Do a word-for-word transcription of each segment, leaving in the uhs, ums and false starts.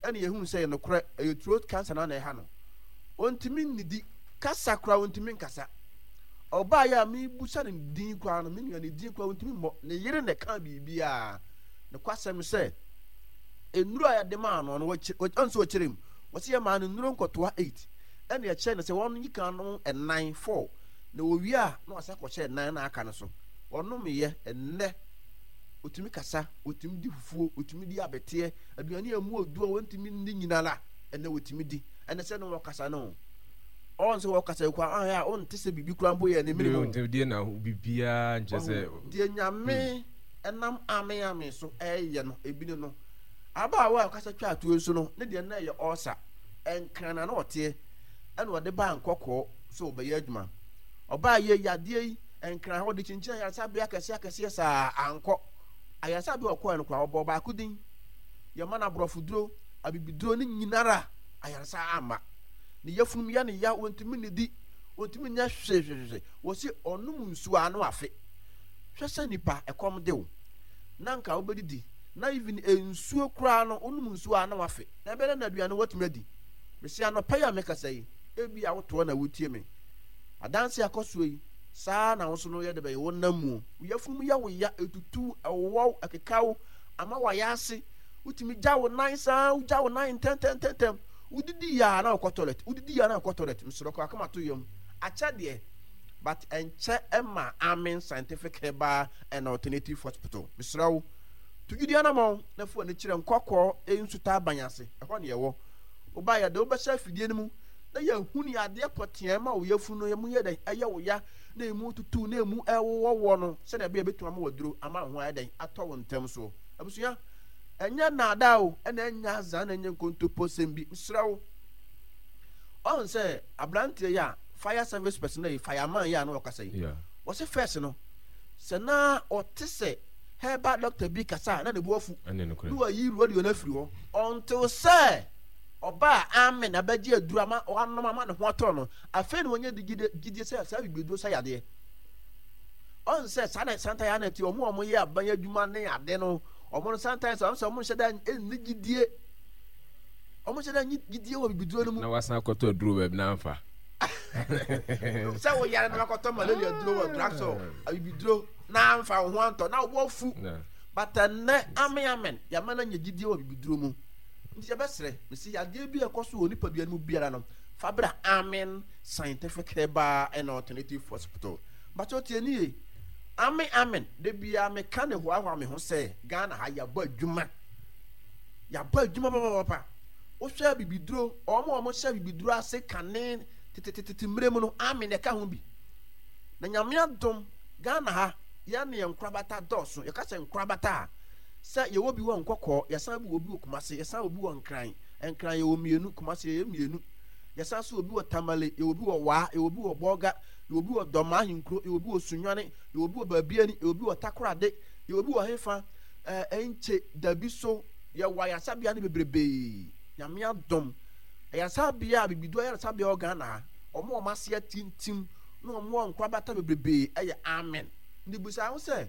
Ɛna yɛhunu sɛ ɛyɛ nokorɛ, ɛyɛ throat cancer no na ɛha no. Ɔntumi nnidi, kasa koraa ɔntumi nkasa. Ɔbaeɛ a mebusa no din koraa no, me nua ne din koraa ɔntumi mmɔ. Ne yere na ɛka biribiara. Nokwasɛm sɛ, nnuro a yɛde maa no no, ɔnso ɔkyerɛ mu. Wɔsi yɛ maa no nnuro nkɔtoa eight. Ɛna ɛkyerɛ no sɛ wɔn yi kan no nnan four. Na wɔwie a na wɔasa kɔhyɛ nnan na aka no so. Ɔnomyɛ ɛnnɛ otumi kasa, otumi di fufuo, otumi di abɛteɛ, aduane a emu odu a wɔntumi nni nyinara ɛnɛ otumi di. Ɛnɛ sɛ no wɔkasa no. Ɔn sɛ wɔkasa yi koraa ahwɛ a ɔnte sɛ biribi koraa mpo yɛ ne mene mu. Deɛ na biribiara nkyɛ sɛ. Deɛ Nyame ɛnam ame ame so ɛyɛ no ebi ne no. Abaawa a ɔkasa twa atuo nso no ne deɛ na ɛyɛ ɔɔsa. Ɛnkran na na ɔteɛ ɛna ɔde baa nkɔkɔɔ sɛ ɔbɛyɛ adwuma. Ɔbaa yɛ yadeɛ yi Nkran hɔ de kyinkyin ayaresabea akɛseɛ akɛseɛ saa ankɔ. Ayaresabea ɔkɔɛ no koraa ɔbɔɔ baako din. Yɛma no aborɔfoduro, abibiduro ne nyinara ayaresa amma. Ne yafunum yɛ ne ya, wɔntumi nnidi, wɔntumi nyɛ hwehwehwehwe. Wɔsi ɔnom nsuo a ano afe. Hwɛ sɛ nipa ɛkɔm de wo na nka wobɛdidi na even nsuo koraa no wonom nsuo a na wafe. Na ɛbɛyɛ na aduane watumi adi. Mesi anɔpa yi a mekasa yi, ebi a wotoɔ na wotie me. Adanse akɔ soɔ yi, saa ara na wo nso no yɛ de bɛyɛ wo nam mu. Wo yafunu mu yɛ wo ya, etutu, ɛwowɔw, ɛkeka wo, ama wayɛ ase. Wotumi gya wo nan saa, wogya wo nan ntɛntɛntɛntɛm. Wodidi yɛ a na wokɔ toilet, wodidi yɛ a na wokɔ toilet. Mesrɛ kɔ akoma to yam. Akyɛ deɛ, but ɛnkyɛ ɛma Amen Scientific Herbal and Alternative Hospital. Mesrɛ wo, to gyidi anamɔn na fa w'ani kyerɛ Nkɔkɔɔ Nsutaaban ase, ɛhɔ ne ɛwɔ. Woba yɛde wo bɛhyɛ afidie no mu na yɛahu ne adeɛ pɔtee a ɛma wo yafunu no mu yɛ dɛn, ɛyɛ wo ya, na emu tutu, na emu ɛwowɔwɔ no, sɛdeɛ ɛbɛyɛ bɛtumi ama waduro ama wo ho ayɛ dɛn, atɔ wo ntɛm soɔ. Abusua, ɛnyɛ nnaadaa o, ɛna ɛnyɛ azaa, na ɛnyɛ nkontoposɛm bi. Mesrɛ wo, ɔn sɛ aberanteɛ yi a fire service person yi, fireman yi a na ɔkasa yi, wɔse first no, sɛ na ɔte sɛ herbal doctor bi kasa a, na ne bo afu, na wayi radio no afiri hɔ, until sɛ ɔbaa amen abɛgye aduro ama wanom ama ne ho atɔ no. Afei na wɔnyɛ gyidie sɛ saa bibiduro sɛ yadeɛ. Ɔn sɛ saa na santa yɛ anati ɔmo a ɔmo yɛ aban adwuma ne ade no, ɔmo no sometimes ɔmo sɛ ɔmo nhyɛ da nni gyidie, ɔmo nhyɛ da nni gyidie wɔ bibiduro no mu. Na wasan akɔtɔ aduro baabi na anfa. Sɛ woyare na wakɔtɔ malaria duro wɔ drugstore, abibiduro na anfa wo ho antɔ na wobɔ fu. But ɛnnɛ amen amen yɛama no anya gyidie wɔ bibiduro mu. Nti yɛbɛsrɛ, mese yadeɛ bi a ɛkɔ so wɔ nipadua no mu biara no, fa bra Amen Scientific Herbal and Alternative Hospital. Mpakyɛw tie nie, Amen Amen, da biara meka ne hoahoa me ho sɛ Ghana ha yɛabɔ adwuma, yɛabɔ adwuma papapapa. Wohwɛ abibiduro, wɔn a wɔhyɛ abibiduro ase kane tetetete mmerɛ mu no, Amen ɛka ho bi. Na Nyame adom, Ghana ha, yɛn ne yɛn nkorabata dɔɔso. Yɛka sɛ nkorabata a, sɛ yɛwɔ bi wɔ Nkɔkɔɔ, yɛsan bi wɔ bi wɔ Kumase, yɛsan wɔ bi wɔ Nkran. Nkran yɛwɔ mmienu, Kumase yɛyɛ mmienu. Yɛsan so wɔ bi wɔ Tamale, yɛwɔ bi wɔ Waa, yɛwɔ bi wɔ Bɔga, yɛwɔ bi wɔ Dɔmaa Ahenkuro, yɛwɔ bi wɔ Sunyani, yɛwɔ bi wɔ Baabiani, yɛwɔ bi wɔ Takorade, yɛwɔ bi wɔ hefa, ɛɛ Nkye, Dabi so. Yɛwɔ ayaresabea no bebrebee. Nyame adom. Ayaresabea a bibiduro ayaresabea wɔ Ghana ha, wɔn a wɔn ase atintim na wɔn wɔ nkorabata bebrebee ɛyɛ Amen. Nti bisa ho sɛ,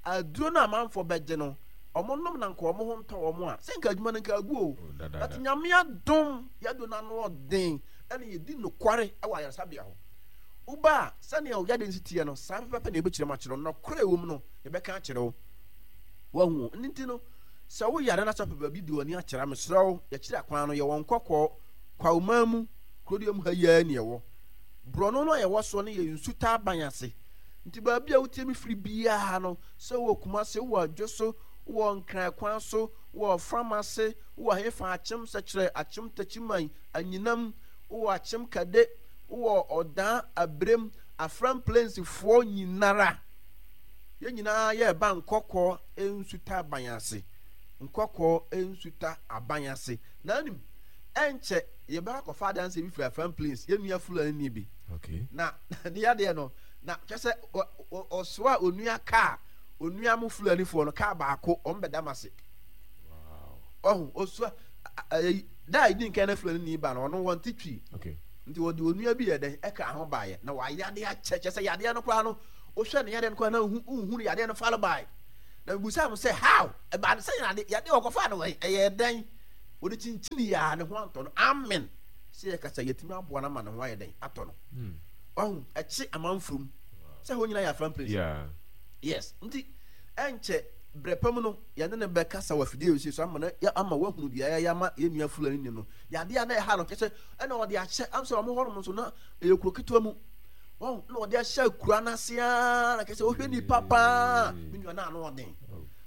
aduro no a amanfoɔ bɛgye no, wɔn nom na nka wɔn ho ntɔ wɔn a, sɛ nka adwuma no nka agu o. But Nyame adom, yɛaduro no ano ɔden, ɛna yɛdi nokware wɔ ayaresabea hɔ. Woba a, sɛnea wo yadeɛ no si teɛ no, saa pɛpɛpɛ na yɛbɛkyerɛ mu akyerɛ wo. Nɔkorɛ ɛwɔ mu no, yɛbɛka akyerɛ wo. Wahu o. Ɛno nti no, sɛ woyare na sɛ wopɛ baabi de w'ani akyerɛ a, mesrɛ wo, yɛkyerɛ akwan no, yɛwɔ Nkɔkɔɔ, Kwawman mu, kurodua mu ha yi ara ni ɛwɔ. Borɔno no a yɛwɔ soɔ no yɛ Nsutaaban ase. Nti baabi a wotie me firi biara no, sɛ wowɔ Kumasi, wowɔ Adwoso, wowɔ Nkran kwan so, wowɔ Ɔfram ase, wowɔ hefa, Akyem Sɛkyerɛ, Akyem Takyiman, Anyinam, wowɔ Akyem Kade, wowɔ Ɔdaa, Abirem, Afram Plains foɔ nyinara, yɛn nyinaa yɛreba Nkɔkɔɔ Nsuta Aban ase, Nkɔkɔɔ Nsuta Aban ase. Na anim, ɛnkyɛ yɛbɛkɔ akɔfa adanseɛ bi firi Afram Plains, yɛn nua Fulani bi. Okay. Na ne yadeɛ no, na kyɛ sɛ ɔsoa onua kaa, onua mo Fulanifoɔ no kaa baako, wɔn bɛda mo ase. Ɔho ɔsoa da a ɛdi nkan na Fulani ni ba no, ɔno wɔn te twi. Okay. Nti wɔde onua bi yɛ dɛn ɛka ho baeɛ na wayade akyɛ, kyɛ sɛ yadeɛ no koraa no, wohwɛ ne yadeɛ no koraa na wohu no yadeɛ no falo bae. Na mebusaa mo sɛ how ɛbaa no sɛ yadeɛ yadeɛ wɔkɔfaa no wɔ ɛyɛ dɛn? Wɔde kyinkyini yɛ a ne ho antɔ no. Amen. Sɛ yɛkasa yɛtumi aboa no ama ne ho ayɛ dɛn atɔ no. Ɔho ɛkye amanfurum sɛ hɔ nyinaa yɛ Afram place. Yeah. Yes. Nti ɛnkyɛ berɛ pa mu no yɛne no bɛkasa wɔ afidie wei so ama no ama wahunu deɛ yɛayɛ ama yɛn nua Fulani ni no. Yadeɛ a na ɛha no kyɛ sɛ ɛna ɔde ahyɛ am sɛ wɔn hɔnom nso na ɛyɛ kuro ketewa mu. Wɔn na ɔde ahyɛ akura no ase ara na kyɛ sɛ wohwɛ nipa paa me nua no ano ɔden.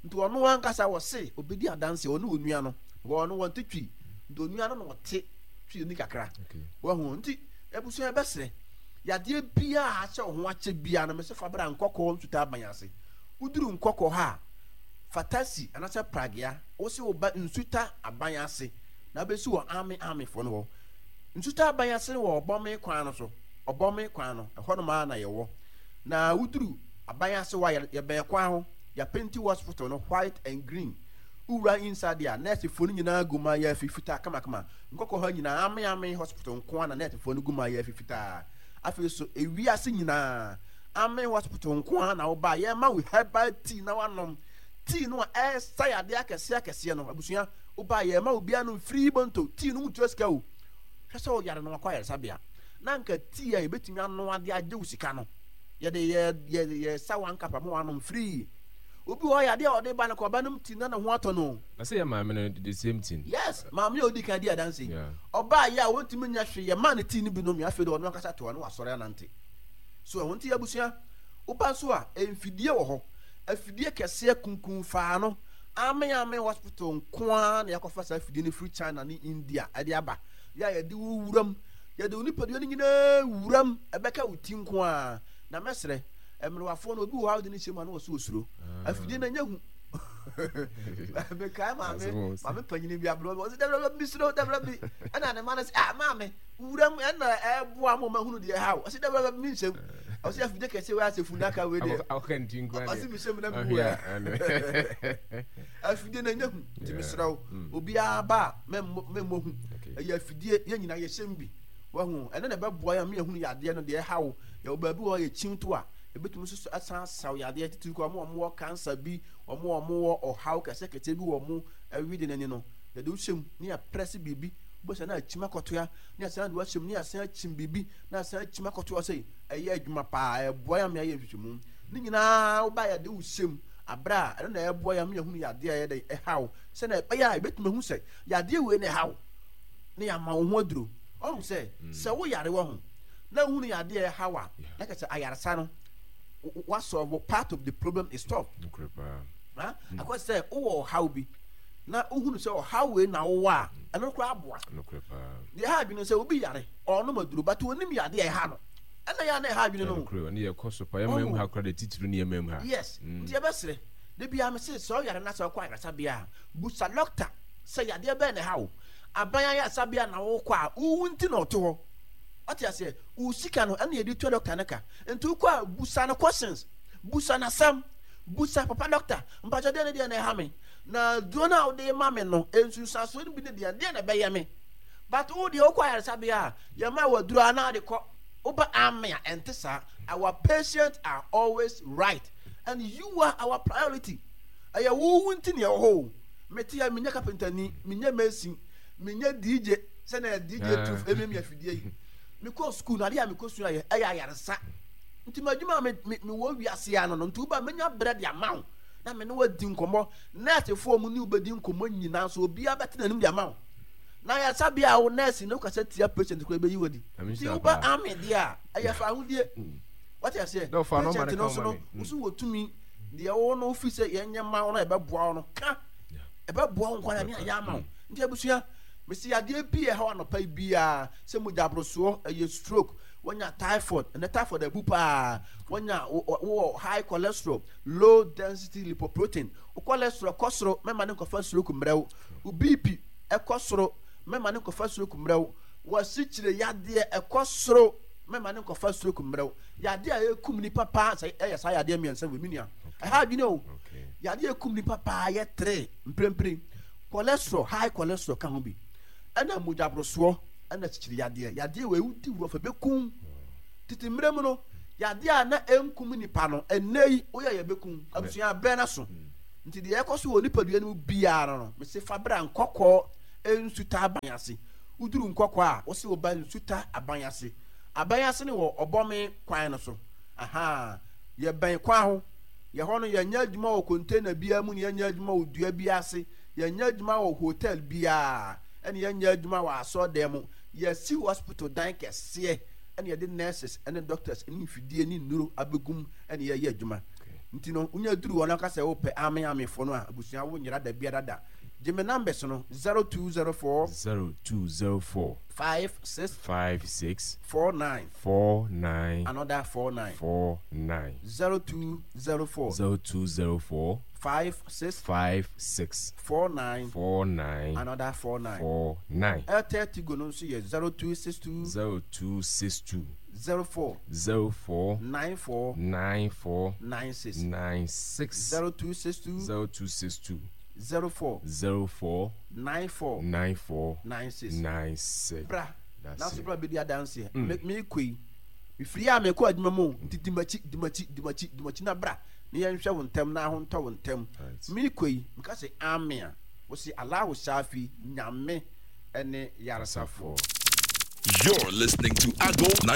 Nti ɔno ankasa wɔse obɛdi adanse ɔne onua no wɔn no wɔnte twi nti onua no na ɔte twi ni kakra. Wahu nti abusua bɛsrɛ yadeɛ biara ahyɛ wo ho akyɛ biara no mese fa bra Nkɔkɔɔ nsutaa aban ase. Woduru Nkɔkɔɔ ha a, fa taxi anaasɛ pragea wose woba nsuta aban ase na abɛsi wɔ army armyfoɔ no hɔ. Nsuta aban ase no wɔ Ɔbɔme kwan no so, Ɔbɔme kwan no, ɛhɔnom ara na yɛwɔ. Na woduru aban ase hɔ a, yɛbɛn kwan ho, yɛapenti hospital no white and green. Wowura inside a, nɛɛsefoɔ no nyinaa gu mayaafi fitaa kamakama. Nkɔkɔɔ ha nyinaa, Army Army hospital nko ara na nɛɛsefoɔ no gu mayaafi fitaa. Afei nso, ewiase nyinaa, Army hospital nko ara na woba a, yɛma wo herbal tea na woanom. Tea no a ɛresa yadeɛ akɛseɛ akɛseɛ no, abusua, woba a yɛma obiara nom free bonto. Tea no wontua sika o. Hwɛ sɛ woyare na wakɔ ayaresabea. Na anka tea a yɛbɛtumi anoa de agye wo sika no, yɛde yɛ yɛ yɛsa one cup ama woanom free. Obi wɔ hɔ yadeɛ a ɔde ba no kɔ ɔba nom tea na ne ho atɔ no. Na sɛ yɛ maame no the same thing. Yes, maame a odi kan di adanse yi. Ɔbaa yɛ a wɔntumi nyɛ hwee, yɛmaa no tea no bi nomee, afei de ɔno ankasa te hɔ na wasɔre anante. So ɛho nti abusua, woba nso a, mfidie wɔ hɔ. Afidie kɛseɛ kunkun faa no, Amen Amen Hospital nko ara na yɛakɔfa saa afidie no firi China ne India de aba. Yɛ a yɛde wo wuram, yɛde wo nipadua no nyinaa wuram, ɛbɛka wo ti nko ara. Na mɛsrɛ, mmerewafoɔ no, obi wɔ hɔ a wode no hyɛ mu a na wɔso osuro. Afidie no ɛnyɛ hu. Mekae maame, maame panyini bi aberewa bi, ɔse dabra bi mesuro, dabra bi. Ɛna ne ma no sɛ, ah maame, wuram ɛna ɛboa mo mahunu deɛ ɛha wo. Ɔse dabra bi menhyɛm. Ɔse afidie kɛseɛ wei asɛ funaka wei deɛ. Ɔse mehyɛm na mewu ɛ. Afidie no ɛnyɛ hu, nti mesrɛ wo, obiara ba a mɛmmɔ hu. Ɛyɛ afidie, yɛn nyinaa yɛhyɛm bi. Wahu, ɛno na ɛbɛboa yɛn ama yɛahunu yadeɛ no deɛ ɛha wo. Yɛwɔ baabi wɔ hɔ a yɛkyin to a, ɛbɛtumi nso asan asaw yadeɛ titiri koraa wɔn a wɔwɔ cancer bi, wɔn a wɔwɔ ɔhaw kɛseɛ bi wɔ wɔn awide no ani no, yɛde wo hyɛ mu na yɛaprɛse biribi, wobɛsɛ na akyim akɔtoa, na yɛasan de wo ahyɛ mu na yɛasan akyim biribi, na yɛasan akyim akɔtoa sɛ ɛyɛ adwuma paa, ɛboa yɛn ama yɛayɛ nhwehwɛmu. Ne nyinaa woba yɛde wo hyɛ mu aberɛ a ɛno na ɛboa yɛn ama yɛahunu yadeɛ a ɛyɛ dɛn ɛha wo, sɛnea ɛbɛyɛ a yɛbɛtumi ahu sɛ yadeɛ wei na ɛha wo na yɛama wo ho aduro. Ɔhu sɛ sɛ woyare wɔ ho na wohunu yadeɛ a ɛha wo a, na kyerɛ sɛ ayaresa no wasɔlvo part of the problem is solved. Ha akɔ sɛ wowɔ ɔhaw bi na wohunu sɛ ɔhaw wei na wowɔ a, ɛno koraa aboa. Deɛ ɛha adwene sɛ obi yare ɔnom aduro but onim yadeɛ a ɛha no, ɛna yɛ a na ɛha adwene no. Ne yɛkɔ so pa yɛma mu ha koraa de titiri ne yɛma mu ha. Yes, nti yɛbɛsrɛ da biara me se sɛ ɔyare na sɛ ɔkɔ ayaresabea a, busa dɔkta sɛ yadeɛ bɛn na ɛha wo. Aban ayaresabea na wokɔ a, wowu nti na ɔte hɔ. Wate aseɛ? Wo sika no ɛna yɛde tua dɔkta no ka. Nti wokɔ a busa no questions, busa no asɛm, busa papa dɔkta, mpakyɛ deɛ ne deɛ na ɛha me, na duro no a wode ma me no, nsunsuansoɔ no bi ne deɛ, deɛ na ɛbɛyɛ me. But wo deɛ wokɔ ayaresabea a, yɛma wo aduro a na wode kɔ. Woba ame a, ɛnte saa. Our patients are always right and you are our priority. Ɛyɛ wo wo nti na yɛwɔ hɔ o. Mete ha, menyɛ kapentani, menyɛ mason, menyɛ D J, sɛnea D J tu emiamia afidie yi. Mekɔɔ sukuu no, adeɛ a mekɔsua yɛ ɛyɛ ayaresa. Nti m'adwuma a me, me, mewɔ wiase ano no, nti woba menya berɛ de ama wo na me ne wo adi nkɔmmɔ. Nɛɛsefoɔ mu ne wo bɛdi nkɔmmɔ nyinaa nso, obiara bɛte n'anim de ama wo. Na ayaresabea a wo nɛɛse ne wokasa tia patient koraa bɛyi wo adi. Nti woba ame deɛ a, ɛyɛ fa ahodie. Wate aseɛ? Patient no nso no, wo so wɔ tumi deɛ wo no wofi sɛ yɛnyɛ ma wo no ɛbɛboa wo no, ka. Ɛbɛboa wo nkwa ne ayɛ ama wo. Nti abusua, mesi yadeɛ bi a ɛhaw anɔpa yi biara, sɛ mogya aborosoɔ, ɛyɛ stroke, wanya typhoid, ɛnɛ typhoid abu paa, wanya wowɔ high cholesterol, low density lipoprotein, wo cholesterol kɔ soro, mɛma ne nkɔfa stroke mmerɛ wo, wo B P ɛkɔ soro, mɛma ne nkɔfa stroke mmerɛ wo, w'asikyire yadeɛ ɛkɔ soro, mɛma ne nkɔfa stroke mmerɛ wo. Yadeɛ a ɛkum nipa paa sɛ ɛyɛ saa yadeɛ mmiɛnsa wɔ mi nua, ɛha adwene o. Yadeɛ a ɛkum nipa paa yɛ tere mprempren. Cholesterol, high cholesterol ka ho bi, ɛna mogyaborosoɔ, ɛna kyikyiri yadeɛ. Yadeɛ wei wodi wura fɛ bɛkum. Tete mmerɛ mu no, yadeɛ a na ɛnkum nipa no, ɛnnɛ yi woyɛ yɛ bɛkum. Abusua berɛ no so. Nti deɛ ɛkɔ so wɔ nipadua no mu biara no, mese fa bra Nkɔkɔɔ Nsuta Aban ase. Woduru Nkɔkɔ a, wose woba Nsuta Aban ase. Aban ase no wɔ Ɔbɔme kwan no so. Ahaa. Yɛbɛn kwan ho. Yɛ hɔ no, yɛnyɛ adwuma wɔ container biara mu na yɛnyɛ adwuma wɔ dua biara ase. Yɛnyɛ adwuma wɔ hotel biara ɛna yɛnyɛ adwuma wɔ asɔredan mu. Yɛasi hospital dan kɛseɛ ɛna yɛde nurses ne doctors ne mfidie ne nnuro abɛgu mu ɛna yɛyɛ adwuma. Nti no, wonya duru hɔ na woka sɛ wopɛ ame amefoɔ no a, abusua wonyera da biara da. Gye me numbers no, zero two zero four. Zero two zero four. Five six. Five six. Four nine. Four nine. Another four nine. Four nine. Zero two zero four. Zero two zero four. Five six. Five six. Four nine. Four nine. Another four nine. Four nine. Airtel Tigo no nso yɛ zero two six two. Zero two six two. Zero four. Zero four. Nine four. Nine four. Nine six. Nine six. Zero two six two. Zero two six two. Zero four. Zero four. Nine four. Nine four. Nine six. Nine six. Bra. That's Nanso it. bra bɛdi adanseɛ. Mm. Me mekɔ yi. Mefiri a mekɔ adwuma mu o. Nti di m'akyi, di m'akyi, di m'akyi, di m'akyi na bra. Na yɛnhwɛ wo ntɛm na ahontɔ wo ntɛm. Right. Mekɔ yi, meka sɛ ame a, wose Allahu Shafi, Nyame ɛne yaresafoɔ. You're listening to Adom